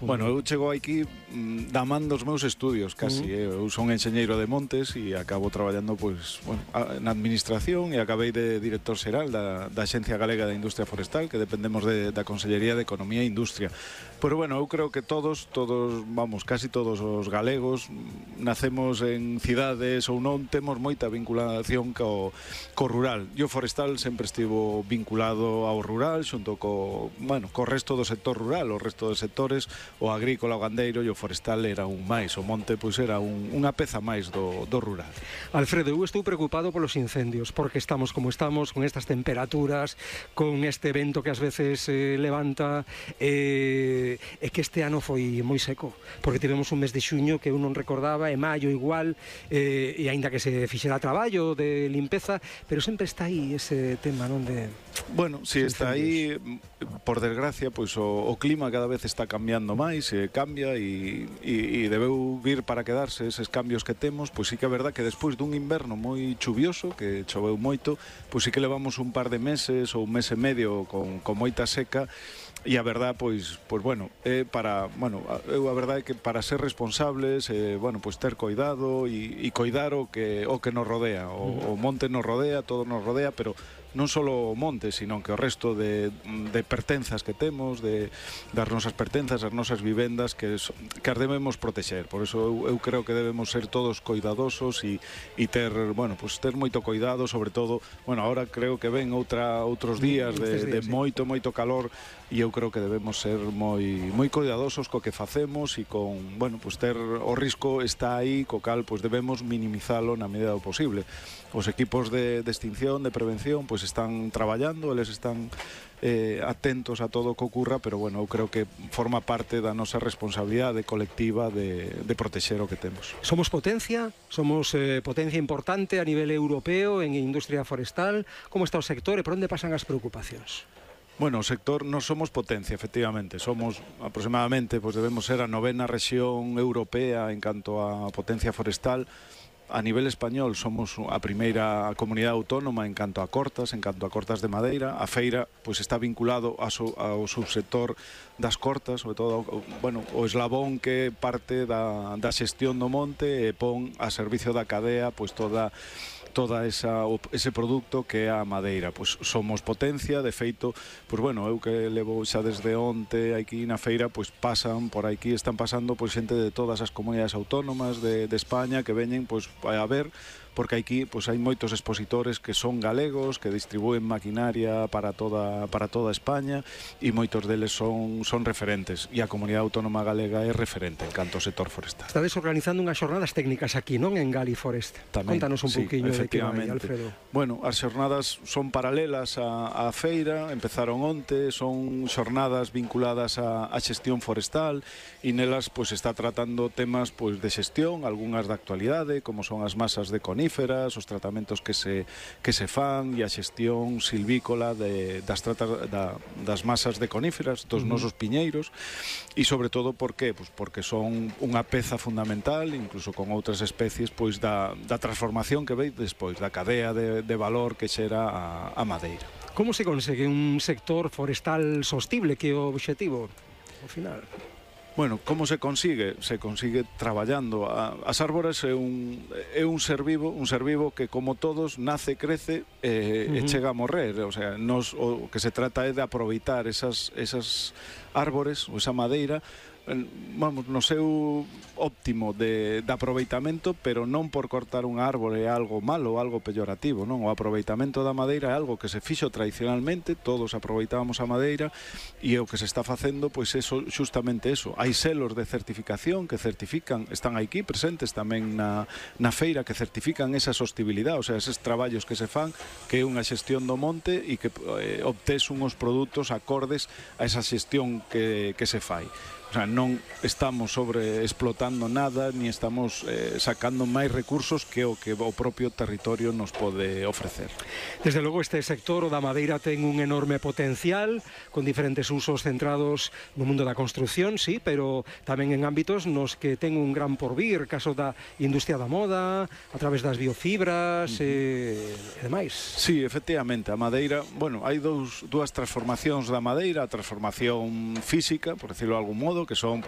Bueno, eu chego aquí da man dos meus estudios, casi. Eu son enxeñeiro de montes e acabo traballando pois, bueno, na administración e acabei de director xeral da Axencia Galega da Industria Forestal, que dependemos da Consellería de Economía e Industria. Pero bueno, eu creo que todos, vamos, casi todos os galegos nacemos en cidades ou non, temos moita vinculación co rural. E o forestal sempre estivo vinculado ao rural, xunto co resto do sector rural, o resto dos sectores, o agrícola, o gandeiro e o forestal era un máis, o monte pois era unha peza máis do rural. Alfredo, eu estou preocupado polos incendios, porque estamos como estamos, con estas temperaturas, con este vento que ás veces levanta, e que este ano foi moi seco, porque tivemos un mes de xuño que eu non recordaba, e maio igual, e aínda que se fixera traballo de limpeza, pero sempre está aí ese tema, non de... Bueno, si está aí, por desgracia, pois o clima cada vez está cambiando máis, cambia e debeu vir para quedarse eses cambios que temos. Pois sí que é verdad que despois dun inverno moi chuvioso, que choveu moito, pois sí que levamos un par de meses ou un mes e medio con moita seca. E a verdad, pois bueno, eu a verdade é que para ser responsables, pois ter coidado e coidar o que nos rodea. O monte nos rodea, todo nos rodea, pero non só o monte, sino que o resto de pertenzas que temos, das nosas pertenzas, as nosas vivendas, que as debemos protexer. Por eso eu creo que debemos ser todos coidadosos e ter moito coidado, sobre todo, ahora creo que ven outros días de moito calor, e eu creo que debemos ser moi coidadosos co que facemos e con, ter o risco está aí, co cal debemos minimizalo na medida do posible. Os equipos de extinción, de prevención, están traballando, eles están atentos a todo o que ocurra, pero eu creo que forma parte da nosa responsabilidade colectiva de protexer o que temos. Somos potencia importante a nivel europeo en industria forestal. Como está o sector e por onde pasan as preocupacións? Bueno, o sector, nos somos potencia, efectivamente. Somos aproximadamente, debemos ser a 9ª rexión europea en canto a potencia forestal. A nivel español somos a primeira comunidade autónoma en canto a cortas de madeira. A feira está vinculado ao subsector das cortas, sobre todo o eslabón que parte da xestión do monte e pon a servicio da cadea toda ese produto que é a madeira. Somos potencia, de feito, eu que levo xa desde onte aquí na feira, están pasando xente de todas as comunidades autónomas de España que veñen a ver, porque aquí hai moitos expositores que son galegos, que distribúen maquinaria para toda España, e moitos deles son referentes, e a comunidade autónoma galega é referente en canto ao sector forestal. Estades organizando unhas xornadas técnicas aquí, non, en Galiforest? Contanos un pouquiño de que vai, Alfredo. Bueno, as xornadas son paralelas á feira, empezaron onte, son xornadas vinculadas á xestión forestal, e nelas está tratando temas de xestión, algunhas da actualidade, como son as masas de coníferas, os tratamentos que se fan e a xestión silvícola das masas de coníferas, dos nosos piñeiros, e sobre todo porque son unha peza fundamental, incluso con outras especies, da transformación que veis despois, da cadea de valor que xera a madeira. Como se consegue un sector forestal sostible, que é o obxectivo ao final? Bueno, como se consigue? Se consigue traballando. As árbores é un ser vivo que, como todos, nace, crece e chega a morrer. O sea, o que se trata é de aproveitar esas árbores ou esa madeira no seu óptimo de aproveitamento, pero non por cortar unha árbore é algo malo, algo peyorativo, non? O aproveitamento da madeira é algo que se fixo tradicionalmente, todos aproveitábamos a madeira, e o que se está facendo, justamente eso. Hai selos de certificación que certifican, están aquí presentes tamén na feira, que certifican esa sostibilidade, o sea, eses traballos que se fan, que é unha xestión do monte e que obtés unhos produtos acordes a esa xestión que se fai. O sea, non estamos sobreexplotando nada, ni estamos sacando máis recursos que o propio territorio nos pode ofrecer. Desde logo, este sector, o da madeira, ten un enorme potencial, con diferentes usos centrados no mundo da construción, sí, pero tamén en ámbitos nos que ten un gran porvir, caso da industria da moda, a través das biofibras e demais. Sí, efectivamente, a madeira, hai dúas transformacións da madeira, a transformación física, por decirlo de algún modo, que son